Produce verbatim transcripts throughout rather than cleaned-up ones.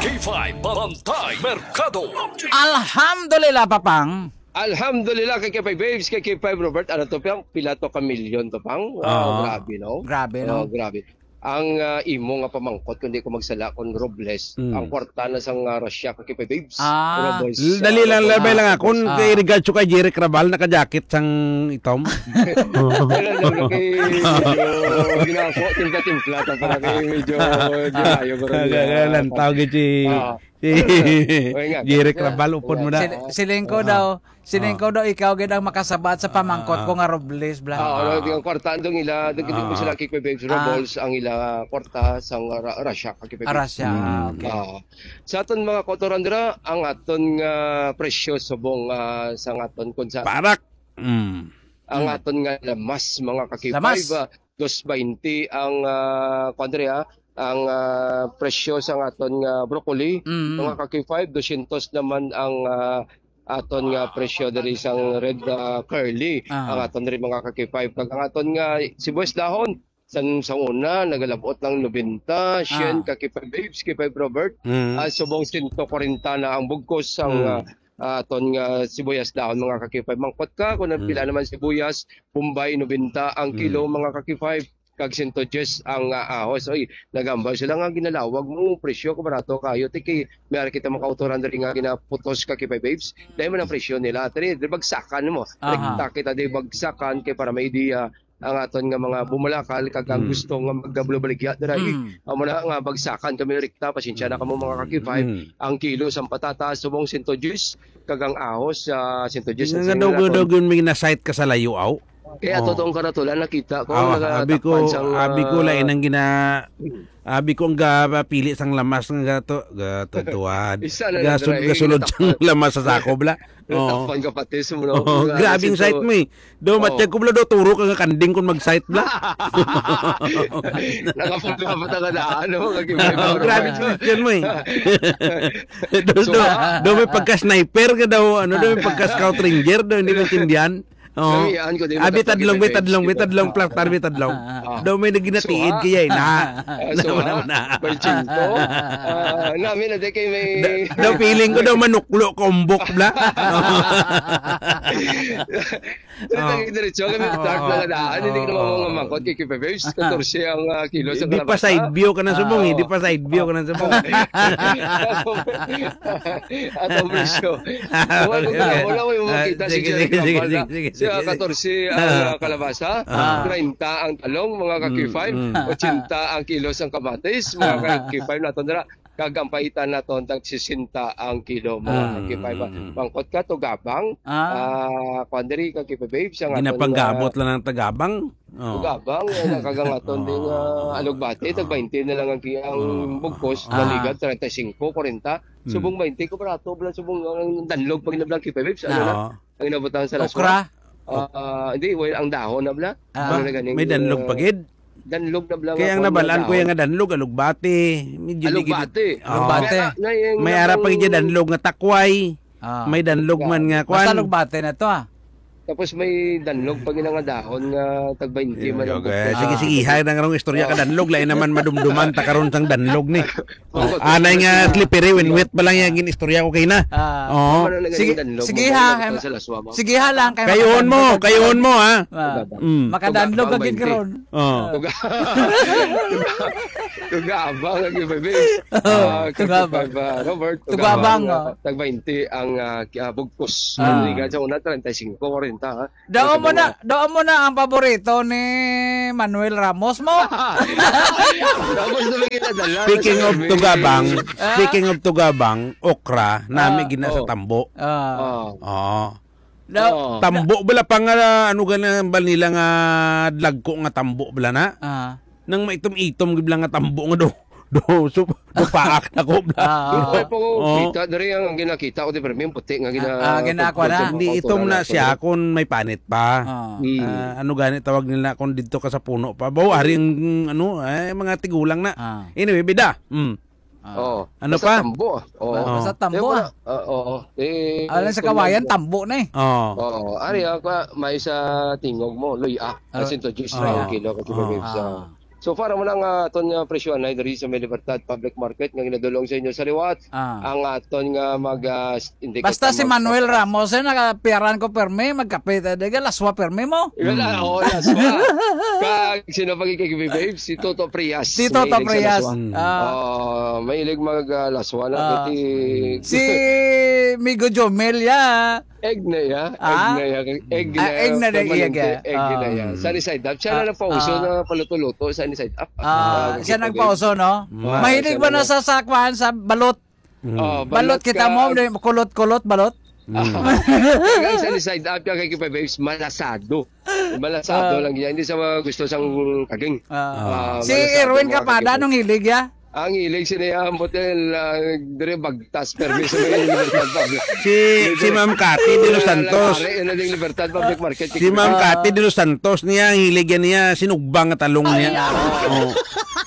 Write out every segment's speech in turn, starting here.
K five Bantay Merkado. Alhamdulillah, Papang. Alhamdulillah, kay K five Babes, kay K five Robert, ano to, Pang? Pila to ka milyon to, Pang? Wow, Oo. Grabe, no? Grabe, no? Oh, grabe. Ang, ah, imo nga pamangkot, kung di ko magsala, kung Robles, Mm. ang kwarta na sang, ah, Russia, kay K five Babes. Ah. Robles, L-, dali ah, lang, Robles. Labay lang, ah, kung Ah. kay regards ko kay Jeric Raval, naka-jacket sang itom. Wala lang, kay medyo ginako, timpla-timpla, ta para kay medyo, medyo tayo, pero Kaya, kaya lang, tawag si Ah. Si Oy, nga, Jerick kaya, Rabal, upod mo na. Sil-, siling ko Ah. daw, siling Ah. ko daw, ikaw gid ang makasabat sa pamangkot Ah. ko nga Robles, bla. Ah, ano, Ah. di ang kwarta, andong ila, di, di ko Ah. sila kay Babes Ah. Robles, ang ila kwarta, sang Ra-, Russia, kay Ah, Babes. Russia, Mm. ah, okay. Ah. Sa aton mga kautoran dira, ang aton nga presyo subong, ah, sang aton kun sa Parak. Mm. ang Mm. aton nga lamas, mga ka-K five, Lamas. ah, dos baynte ang, ah, kuwan diri, ah, ang, ah, presyo sang aton nga broccoli, Mm. mga ka-K five, dosyentos naman ang, ah, aton nga presyo diri sang red, ah, curly, Ah. ang aton diri, mga ka-K five. Kag ang aton nga sibuyas dahon, san-, sa una, nagalabot lang nobenta, syen, Ah. ka-K five Babes, K five Robert, Mm. ah, subong sento kwarenta na ang bugkos sang, Mm. ah, ah, aton nga sibuyas dahon, mga ka-K five. Mangkot ka kung Mm. pila naman sibuyas, Bombay, nobenta ang kilo, Mm. mga ka-K five, kag sento dyes ang, ah, ahos. Oy, nagambal sila nga ginalawag mo, presyo ko barato kayo. Ti kay may ara kita mga kautoran diri nga ginaputos, ka-K five Babes. Dahil man ang presyo nila. Diri, diri bagsakan mo. Aha. Rekta kita diri bagsakan kay para may idea ang aton nga mga bumalakal kag ang Mm. gusto nga magdablo baligya dira. Eh, Mm. amo na nga bagsakan kami rekta, pasensya na kamo, mga ka-K five. Mm. Ang kilo sang patatas subong sento dyes, kag ang ahos, ah, sento dyes Nga ang daw, singil daw, naton. Yun may na-sight ka sa layo, aw? Kaya Oh. totong karatulan, nakita ko, Awa, abi ko, nagatakpan sang, abi ko, ah, lain ang gina-, abi ko ang gapili sang lamas nga gato, gato, tuwad. Isa na lang, Gasul-, dira, eh, gasulod sang natakpan. lamas sa sako, bla. Oo. Natakpan ka pati sa mga Oo, mga grabing sito. Sight mo, eh. Do, Oo. matyag ko, bla, do, turo ka nga kanding kung mag-sight, bla. Nakapagdapat ang daan, no? Kag iba-iba Oo, ang grabe mga question mo, eh. Do, So, do, ah, do, may pagka-sniper ka daw, ano, do, may pagka-scout ranger, do, hindi maintindihan. Oo. Kamian ko, di Abi, matagpag tadlong, may iba tadlong, may yung tadlong, plak, tarbi, tadlong. Ah. Do, may naginatiid So, ah, kaya, eh, na. Ah, so, Naman, ah, naman, na. May chinto. Ah, namin na, di kay may Da-, daw feeling ko daw manuklo, kombok, bla. Dito Oh. ang diretso, kami Oh, start oh, na nga daan. Hindi ko oh, naman oh. mga mangkot kay K five Babes. Katorse ang, ah, kilo sa Di pa kalabasa. side view ka na subong, eh. Di Ah. pa side view ka na subong. At ang presyo. Wala ko na, wala ko yung Ah, makita si sige, Jerry sige, sige, Gambal na sige, sige, siya, sige. katorse ang, Ah. ah, kalabasa, Ah. treinta ang talong, mga ka-K five, Mm, mm. otsenta ang kilo sang kamatis, mga Ah. ka-K five naton dira. Kag ang paitan naton tag sesenta ang kilo, mga Ah. K five. Mm, mm. Mangkot ka, tugabang. Ah. Ah, kuwan diri, ka-K five Babes, ang aton, Ginapanggabot ah, lang ng tagabang. Oh. tugabang, eh, nakagang aton din, Oh. ah, alugbati, tag baynte na lang ang ki-, ang Oh. bugkos, Ah. naligat, treinta y cinco, kwarenta. Hmm. Subong baynte ko, barato, bala, subong ang danlog pag nablang K five Babes, ano na? Oo. Ang inabot lang sa laswa. Okra? Ah, hindi, well, ang dahon na bala. Ah. Ano na ganing, May danlog ah, pa gid? danlog na bala Kaya nga ang kung nabalaan ko dahon. yung nga danlog, alugbati. Medyo di gid Alugbati. Oo. Alugbati. Kaya na yung May ara pa gid nabang danlog nga takway. Ah. May danlog man nga Basta kwan. alugbati na to, ah. Tapos may danlog pa gid nga dahon nga tag baynte man ang Okay. bugkos. Sige, Ah. sige, hay na nga rong istorya ka Ah. danlog, lain naman madumduman ta karon sang danlog ni. Anay nga slippery when wet pa lang yung gin-istorya ko kay na. Ah. Oo. Ano na Sige, ganing danlog? sige Mabalik ha, na em, sa laswa mo. sige ha lang, kay Kayon mo, makadandog kayon mo, ha? Ah. Mm. Makadandog Tugabang ka gid baynte. karon. Oo. Ah. Tuga-, tuga-, tugabang lagi, baby. Oo, Ah, tugabang. Tugabang, ah, Robert, Tugabang, tugabang, oh. ah, tag baynte ang, ah, ki-, ah, bugkos. Ah. Hindi ka sa una, treinta y cinco, kwarenta, ha? Daw Kasi mo na, mga daw mo na ang paborito ni Manuel Ramos mo. Tapos na may kinadala, Speaking nasa of kami. tugabang, Ah? speaking of tugabang, okra, nami Ah, gina sa oh. tambo. Ah. Ah. Oo. Daw, Oo. da- Tambo bala pa nga, ano ka na ba nila nga dlagko nga tambo bala na? Ah. Nang maitom-itom gid lang nga tambo nga do. Do, so, do paak na ko bala. Ah, ah. Ito pa ko, Oo. kita, diri ang ginakita ko, di, pero may puti nga gina-, Ah, ah, ginakuha na. pag-, Hindi, pag-, itom na pag-, siya kung may panit pa. Ah. Mm. Ah, ano gani tawag nila kung dito ka sa puno pa? Bawa, ari ang, ano, eh, mga tigulang na. Ah. Anyway, bida. Mm. Ah. Oo. Ano Basta pa? tambo, ah. Oo. Ba-, basta Oo. tambo, Eh, wala. ah. Ah, oo. Eh, Alam sa kung kawayan, nag- tambo na eh. Oo. Oo. Ari, ah, kwa, may sa tingog mo, luya. Ah. Kasi to, juice Ah. na ang kilo, kasi Oo. may sa Ah. So far, amo na nga aton nga presyohan na diri sa may Libertad Public Market nga ginadulong sa inyo sa liwat. Ah. Ang aton nga mag, ah, s-, indicator Basta si mag- Manuel Ramos, eh, nakapiyaran ko permi, magkape, eh, di ka laswa permi mo. Wala, Mm. oh, laswa. Kag sino pa gid kay Babe? Si Toto Prias. Si Toto Mahilig sa Prias. laswa. Mm. Ah. Oh, mahilig mag, ah, laswa na, Ah. pati Si Migo Jomel, ya. Egg na ya. Ah? Egg na ya. Egg na Ah, ya. egg na na Permanente. iya, ga. Egg na ya. Ah. Sunny side up. Siya Ah, na nagpauso ah. na paluto-luto, sunny side up. Ah, Ah, siya kita, nagpauso, no? Mm. Ah, Mahilig siya ba na na sa, sa kwan, sa balot? Mm. Oh, Balot balot kita ka. mo, di, kulot-kulot, balot? Mm. Kaya sunny side up, kaya kay Babes, malasado. Malasado Ah. lang yan. Hindi sa mga gusto sang kaging. Ah. Ah, Si malasado, Erwin mga Kapada, kaging. anong hilig, ya? Ang hilig sini, ah, motel, ah, dire bagtas, permi sa mga Libertad Public. Si, si Ma'am Cathy de los Santos. Nagari, ano, ding Libertad Public Market. Si Ma'am Ah. Cathy de los Santos niya, ang hilig yan niya, sinugba nga talong niya. Ay, ah. Oh.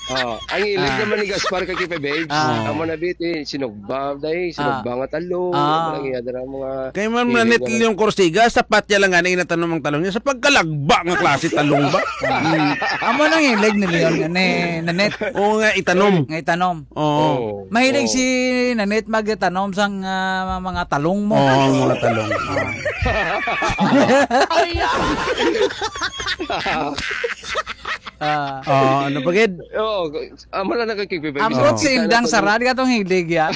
Oh, ang hilig Ah. naman ni Gaspar kay Kipe Babes. Ah. Amo na, Biti, sinugba, day, sinugba Ah. nga talong. Ah. Ang iya dira mga Kay Ma'am hilig Nanette naman. Leon Corsiga, sapat niya lang nga na inatanom ang talong niya sa pagkalagba nga klase talong ba? Mm. Amo nang hilig ni Leon, ni Nanette. Oo nga, itanom. Nga itanom. Oo. Oo. Mahilig Oo. si Nanette magtanom sang, ah, mga talong mo. Oo, mga talong. Ah. Ah. Oh, ano pa gid? Oo, amo na nakakipipay. Ambot si Indang Sarad, katong hilig, ya.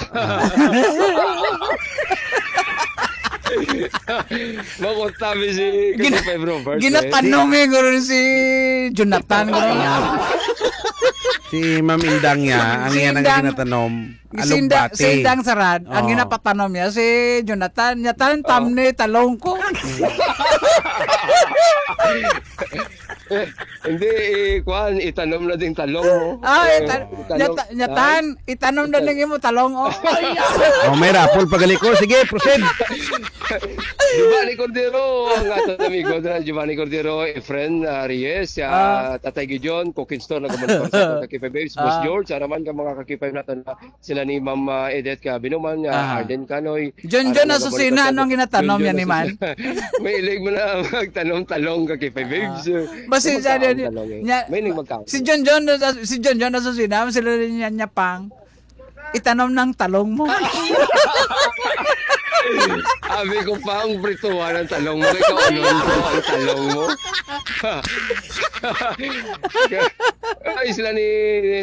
Makunta mi si Gina-, Kipipay Robert, eh. ginatanom eh, guro si Jonathan, guro. Si Ma'am Indang niya, ang Si iyan ang Indang. ginatanom. Si Inda-, Alugbati. si Indang Sarad, ang Oh. ginapatanom niya, si Jonathan, niya, "Tan, Oh. tamni, talong ko." Hindi, eh, kuwan, itanom na ding talong, oh. Ah, Eh, ita-, italong. nyata-, nyatan, itanom na Itan- ning imo talong, oh. Oh, may raffle pagaliko. Sige, proceed. Giovanni Cordero, ang aton amigo na Giovanni Cordero, Efren, ah, Reyes, ah, Ah. Tatay Gideon, Cooking Store, nagamonitor sa aton Kakipay Babes, Boss Ah. George, araman ka mga Kakipay naton na sila ni Ma'am, ah, Edith Kabinuman, ah, Ah. Arden Canoy, John John Arana Asusina, Gabarito, anong ginatanom John yan ni John man? Asusina. May ilig mo na magtanom talong, Kakipay Babes. Ah. Basi May siya magkaon din, talong eh. niya, May ilig magkaon. si John John, si John John Asusina, sila rin niya, niya pang itanom ng talong mo. Abi ko, pang, prituhan ang talong mo. Ikaw, ano, ang talong mo? Ay, sila ni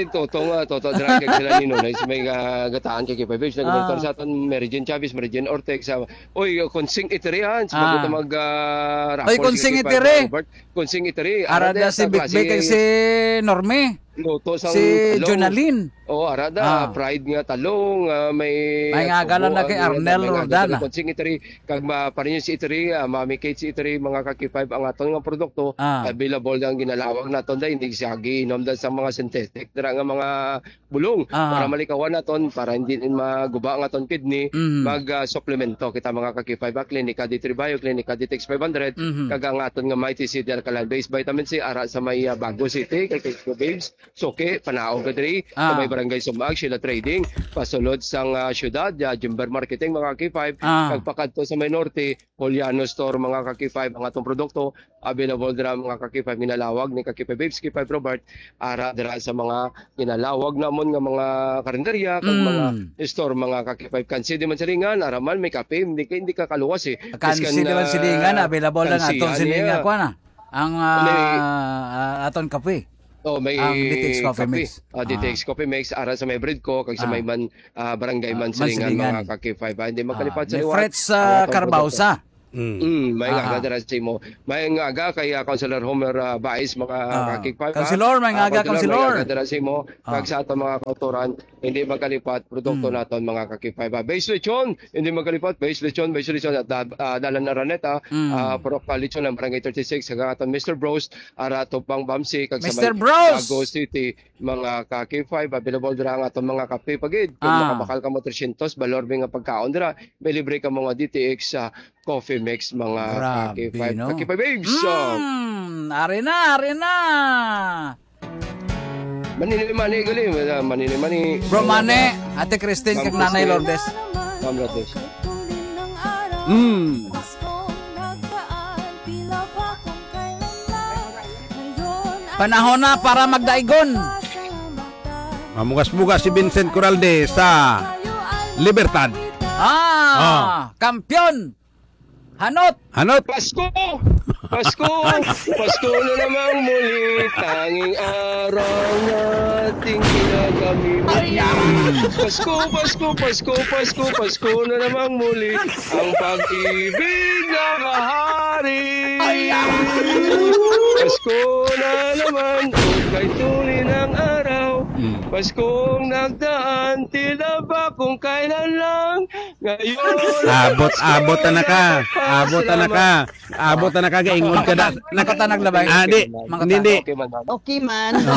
Toto nga, Toto Drag, kag sila ni Nonay, sa may, ah, gataan kay Kipay Babes, nag-monitor Ah. sa aton, Mary Jane Chavez, Mary Jane Ortex, sa, oy, Konsing Itiri, ah, sa Ah. mag-, ah, Oy, raffle, Konsing sige, Itiri. Robert. Konsing Itiri, Ara ara da da si sa Big klase. Big kag si Norme. Luto sang Si talong. Jonalyn. Oh, ara da, Ah. fried nga talong, ah, may May nga agalan na kay may Arnel may nga Roldana. Konsing Itiri, kag ma-, pa rin si Itiri, ah, Mami Kate si Itiri, mga Kakipay, ang aton nga produkto, Ah. available ang ginalawag naton da, hindi siya giinom da sa mga synthetic, dira nga mga bulong, Ah. para malikawan naton, para hindi din maguba ang aton kidney, Mhm. mag, ah, suplemento kita, mga Kakipay, ba, Klinika D three Bio, Klinika D T X five hundred, Mhm. kag ang aton nga Mighty C D Alkaline Base Vitamin C, ara sa may, ah, Bago City, kay Kakipay Babes. Suki, panaog ka diri, sa Ah. may Barangay Sumag, Sheila Trading, pasulod sang, ah, syudad, ah, Jumber Marketing, mga K five, Ah. kag pakadto sa may norte, Poliano Store, mga ka-K five, ang atong produkto, available dira, mga ka-K five, ginalawag ni ka-K five Babes, K five Robert, ara dira sa mga ginalawag namon nga mga karinderya, kag Mm. mga store, mga ka-K five. Kansi di man silingan, ara man, may kape, hindi ka, hindi ka kaluwas eh. Kansi Biskan, di man ah, silingan, available lang kansi, atong ano silingan, yan? Kuha na. Ang, ah, May ah, atong kape. Oh, may Ang D T X Coffee kape. Mix. Ah, D T X Ah. Coffee Mix, ara sa may Bread Co, kag sa Ah. may man, ah, Barangay Ah, Mansilingan, Mansilingan. Mga ka-K five. Ah, hindi Ah, magkalipat sa may liwat, Frets, ang ah, atong produkto. Carbaosa. Mm, may Ah, nga ah. dara sa imo. May nga aga kay, ah, Councilor Homer, ah, Bais, mga Ah, ka-K five, ah. Councilor, may nga Ah, aga, Councilor, may Councilor. nga aga dara sa imo. Ah. Kag sa ato mga kautoran, hindi magkalipat, produkto Hmm. naton, mga ka-K five, ah. Base Lechon, hindi magkalipat, Base Lechon, Base Lechon, at, ah, Dalan Araneta, Hmm. ah, Purok, ah, Lechon ng Barangay thirty-six, kag aton Mister Bros, ara Tupang Bamsi, kag sa Mister may Bros! Bago City, mga ka-K five, available dira ang aton mga kape pagid. Kung Ah. makabakal ka mo tresyentos, balor mi nga pagkaon dira, may libre ka mga D T X sa Coffee Mix, mga Grabe, ka-K five, no? ka-K five Babes. So, Mm, ari na, ari na. Manini-mani, gali, manini-mani. Bro Mane, Ate Christine, Ma'am kag Nanay Christine. Lourdes. Ma'am Lourdes. Mm. Panahon na para magdaigon. Mamugas-mugas si Vincent Coralde sa Libertad. Ah, Oh. Kampiyon. Hanot. Hanot. Pasko! Pasko! Pasko na namang muli, tanging araw nating kinakamit. Pasko, Pasko, Pasko, Pasko, Pasko na namang muli, ang pag-ibig nakahari. Pasko na naman, kay tunay ng araw. Mm. Paskong nagdaan, tila ba kung kailan lang. Ngayon, Abot, abot na ka. Abot na ka. Abot na ka, gaingon ka na. Makata-, makatanog na ba? Ah, di. Makatanog. Hindi, hindi. Okay man, man. Okay man.